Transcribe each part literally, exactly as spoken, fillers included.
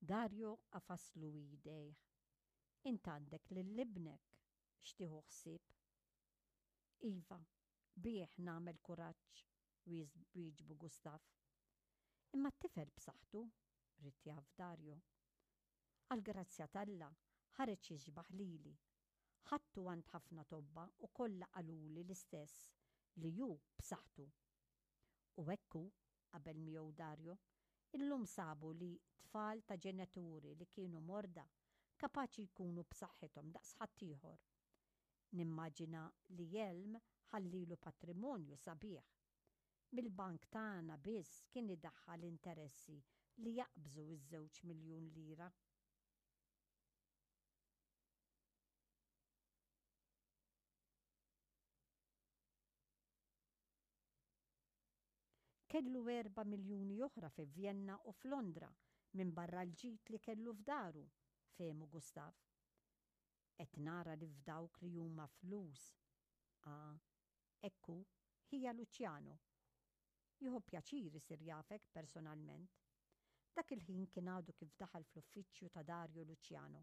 Dario għafaslu idejh. Int għandek lil ibnek x'tieħu ħsieb. Iva, bih nagħmel kuraġġ, wieġbu Gustav. Imma t-tifel b'saħħtu, ried jaf Dario. Għall-grazzja t'Alla ħareġ jixbaħ lili. Ħadtu għand ħafna tobba u kollha qaluli l-istess li hu b'saħħtu. U hekk hu, qabel miegħu Dario, illum sabu li tfal ta' ġenituri li kienu morda kapaċi jkunu b'saħħithom daqs ħaddieħor. Nimmaġina li Jelm ħallilu patrimonju sabiħ. Mill-bank tagħna biss kien idaħħal interessi li jaqbżu iż-żewġ miljun lira. Kellu erba' miljuni oħra fi Vjenna u f'Londra minbarra l-ġid li kellu f'daru, fehmu Gustav. Qed nara li f'dawk li huma flus. Ah, hekk hu, ħija Luciano. Jieħu pjaċir isir jafek personalment. Dak il-ħin kien għadu kif daħal fl-uffiċċju ta' Dario Luciano.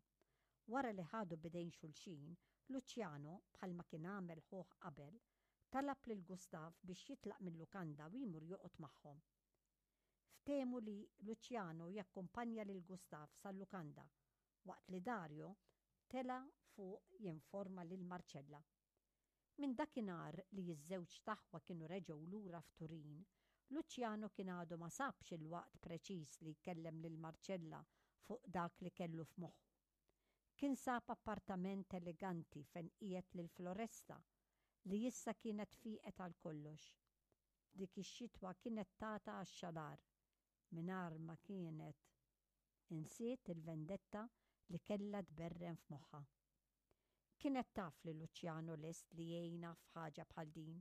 Wara li ħadu b'idejn xulxin, Luciano, bħalma kien għamel ħuh qabel, talab lil Gustav biex jitlaq mil-lukanda u jmur joqgħod magħhom. Ftehmu li Luciano jakkumpanja lil Gustav sal-lukanda waqt li Dario tela' fuq jinforma lil Marcella. Minn dakinhar li ż-żewġ taħwa kienu reġgħu lura f'Turin, Luciano kien għadu ma sabx il-waqt preċiż li jkellem lil Marcella fuq dak li kellu f'moħħu. Kien sab appartament eleganti fejn qiegħed lil Floresta li issa kienet fieqet għal kollox. Dik ix-xitwa kienet tata għax-xalar mingħajr ma kienet insiet il-vendetta li kellha tberren f'moħħha. Kienet taf li Luciano lest li jgħinha f'ħaġa bħal din.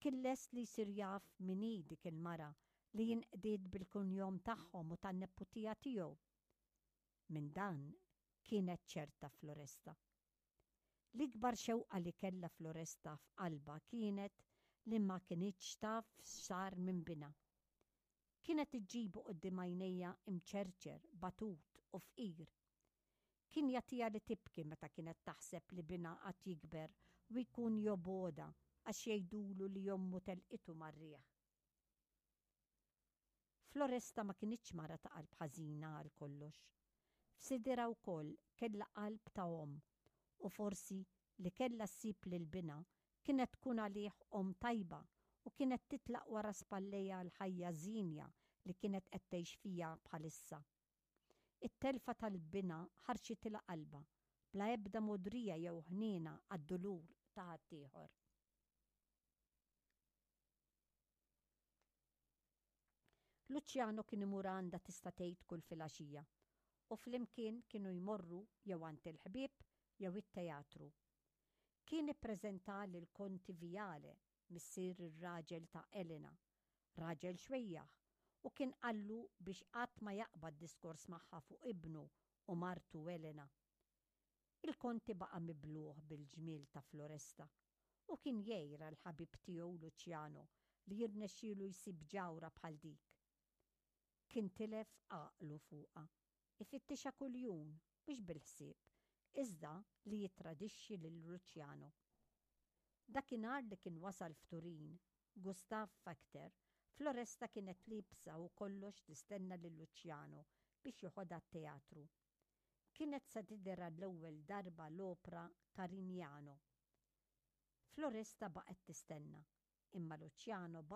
Kien lest li jsir jaf min hi dik il-mara li jinqdiet bil-kunjom tagħhom u tan-neputija tiegħu. Minn dan kienet ċerta Floresta. L-ikbar xewqa li kellha Floresta f'qalbha kienet li ma kinitx taf x'sar minn binha. Kienet iġġibu quddiem għajnejha imċerċer, batut u fqir. Kien jagħtiha li tibki meta kienet taħseb li binha qatt jikber u jkun jobgħodha għax jgħidulu li ommu telqitu mar-riħ. Floresta ma kinitx mara ta' qalb ħażina għal kollox. F'sidirha wkoll kellha qalb ta' omm u forsi li kellha ssib lil binha kienet tkun għalih omm tajba u kienet titlaq wara spallejha l-ħajja żienja li kienet qed tgħix fiha bħalissa. It-telfa tal-binha ħarxitilha qalbha bla ebda mogħdrija jew ħniena għad-dulur ta' ħaddieħor. Luciano kien imur għandha tista' tgħid kull filgħaxija u flimkien kienu jmorru jew għand il-ħbieb jew it-teatru. Kien ippreżenta lil Konti Viale, missier ir-raġel ta' Elena, raġel xwejjaħ, u kien qallu biex qatt ma jaqbad diskors magħha fuq ibnu u martu Elena. Il-Konti baqa' mibluh bil-ġmiel ta' Floresta u kien jgħir għall-ħabib tiegħu Luciano li jirnexxielu jsib ġawhra bħal dik. Kien tilef għaqlu fuqha, ifittixha kuljum, mhux bil-ħsieb, iżda li jittradixxi lil Luciano. Dakinhar li kien wasal f'Turin, Gustav Fakter, Floresta kienet liebsa u kollox tistenna lil Luciano biex joħodha t-teatru. Kienet se tidher għall-ewwel darba l-opra Carignano. Floresta baqgħet tistenna, imma Luciano baqa'